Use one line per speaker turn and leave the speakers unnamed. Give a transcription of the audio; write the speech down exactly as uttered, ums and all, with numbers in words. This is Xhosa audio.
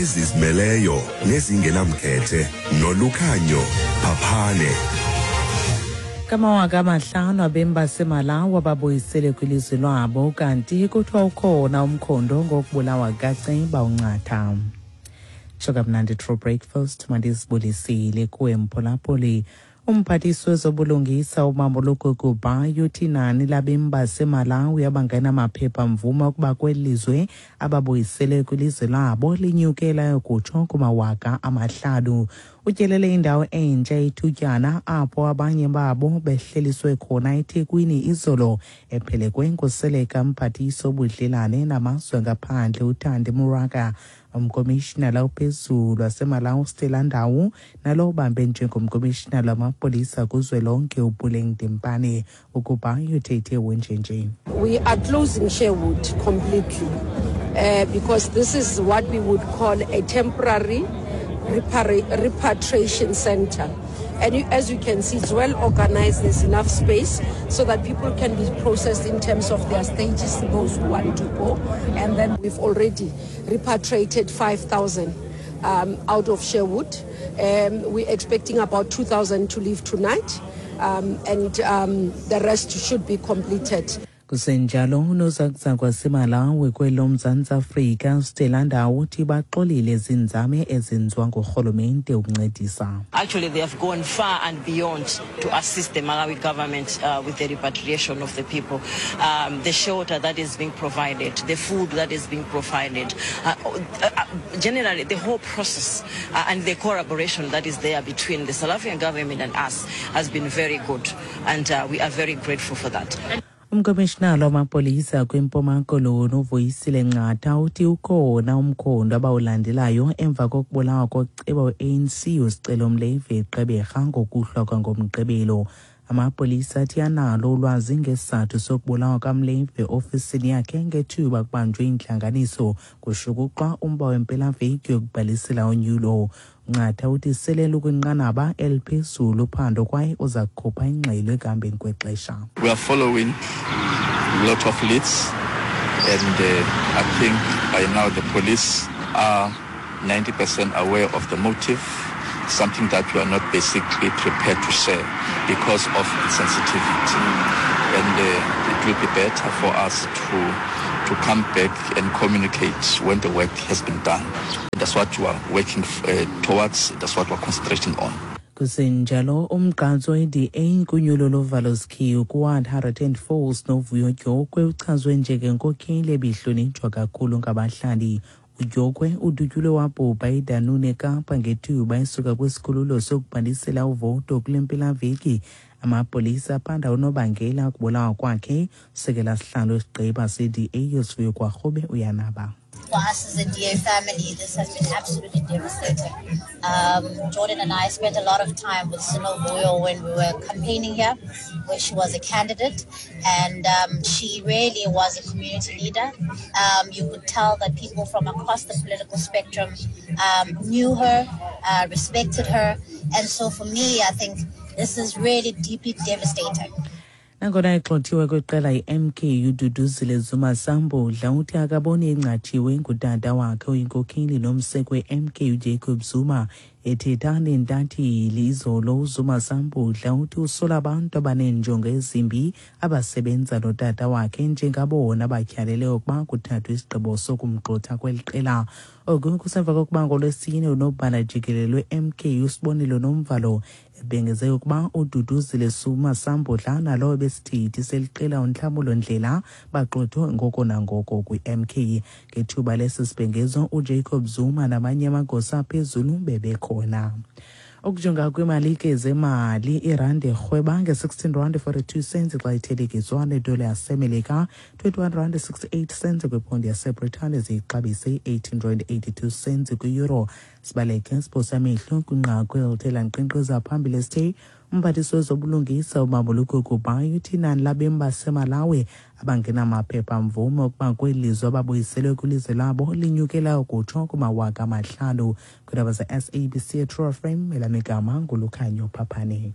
Ezizimeleyo nezingenamkhethe noLukhanyo Phaphane.
Kamawaka amahlanu abemi baseMalawi ababuyisele kwilizwe lwabo, kanti kuthiwa ukhona umkhondo ngokubulawa kaceba uNcatha. Tsho kamnandi True Breakfast, mandizibulisile kuwe mphulaphuli. Umphathiswa wezobulungisa uMamoloko Kubayi uthi inani labemi baseMalawi abangenamaphepha mvume ukuba kweli lizwe ababuyisele kwilizwe labo linyukela kutsho kumawaka amahlanu. Utyelele indawo entsha ithutyana apho abanye babo behleliswe khona eThekwini izolo, ephelekwe nguseleka mphathiswa obudlelane namazwe ngaphandle uThandi Maraga, umkomishinala ophezulu waseMalawi uStella Ndawu, nalo ubambe njengomkomishinala wamapolisa kuzwelonke uPuleng Dimpane. Ukuba uthethe wenjenje.
We are closing Sherwood completely uh, because this is what we would call a temporary repatriation center. And you, as you can see, it's well organized. There's enough space so that people can be processed in terms of their stages, those who want to go. And then we've already repatriated five thousand um, out of Sherwood. Um, we're expecting about two thousand to leave tonight, um, and um, the rest should be completed.
Kusenjalo, unozakuzaku waseMalawi kwelo Mzantsi Afrika uStella Ndawu uthi baxolile zinzame ezenziwa ngurhulumente ukuncedisa.
Actually, they have gone far and beyond to assist the Malawi government uh, with the repatriation of the people. Um, the shelter that is being provided, the food that is being provided, uh, uh, generally the whole process uh, and the collaboration that is there between the South African government and us has been very good, and uh, we are very grateful for that.
Umkomishinala wamapolisa kwiMpuma Koloni uVuyisile Ncata uthi ukhona umkhondo abawulandelayo emva kokubulawa koceba we-A N C uSicelo Mlevi eGqeberha ngokuhlwa kwangoMgqibelo. Amapolisa athi analo ulwazi ngesizathu sokubulawa kaMlevi eofisini yakhe ngethuba kubanjwe intlanganiso kushukuxwa umba wempelaveki yokubhalisela unyulo. Ncata uthi sele lukwinqanaba eliphezulu uphando kwaye uza kukhupha ingxelo ekuhambeni kwexesha.
We are following a lot of leads, and uh, I think by now the police are ninety percent aware of the motive, something that we are not basically prepared to share because of its sensitivity. And uh, it will be better for us to, to come back and communicate when the work has been done. That's what we are working uh, towards, that's what we're concentrating on.
Kusenjalo, umgqatswa we-D A kunyulo lovalo sikhiyu kuWard one hundred and four uSinovuyo Dyokwe uchazwe njengenkokheli ebihlonitshwa kakhulu ngabahlali. UDyokwe udutyulwe wabhubha eDunoon eKapa ngethuba esuka kwisikhululo sokubhalisela uvoto kule mpelaveki. Amapolisa aphanda unobangela kubulawa kwakhe. Usekela sihlalo wesigqeba se-D A uSivuyo Gwarube uyanaba.
For us as a D A family, this has been absolutely devastating. Um, Jordan and I spent a lot of time with Sinovuyo when we were campaigning here, where she was a candidate, and um, she really was a community leader. Um, you could tell that people from across the political spectrum um, knew her, uh, respected her, and so for me, I think this is really deeply devastating.
Nangona egxothiwe kwiqela i-M K, uDuduzile Zuma Sambudla uthi akaboni engcatshiwe ngutata wakhe oyinkokheli nomseki we-M K uJacob Zuma. Ethetha neentatheli izolo, uZuma Sambudla uthi usola abantu abaneenjongo ezimbi abasebenza notata wakhe njengabona batyhalele ukuba kuthathwe isigqibo sokumgxotha kweli qela. Oku kusemva kokuba ngoLwesine unobhala jikelele we-M K uSibonelo Nomvalo ebhengeze ukuba uDuduzile Zuma Sambudla nalowo besithithi seliqela uNhlamulo Ndlela bagxothwe ngoko nangoko kwi-M K. Ngethuba lesi sibhengezo, uJacob Zuma namanye amagosa aphezulu bebekhona. Ukujonga kwimalike zemali, irandi irhweba nge-sixteen rand forty-two cents xa ithelekiswa nedola yaseMelika, twenty-one rand sixty-eight cents kwiphondi yaseBritane, ziyixabise i-eighteen rand eighty-two cents kwi-euro. Sibaleke siphosa amehlo kwinqaku elithe lankqenkqeza phambili esithe umphathiswa wezobulungisa uMamoloko Kubayi uthi inani labemi baseMalawi abangenamaphepha mvume ukuba kweli lizwe ababuyiselwe kwilizwe labo linyukela ukutsho kumawaka amahlanu. Kwiindaba ze-S A B C True F M, elam igama nguLukhanyo Phaphane.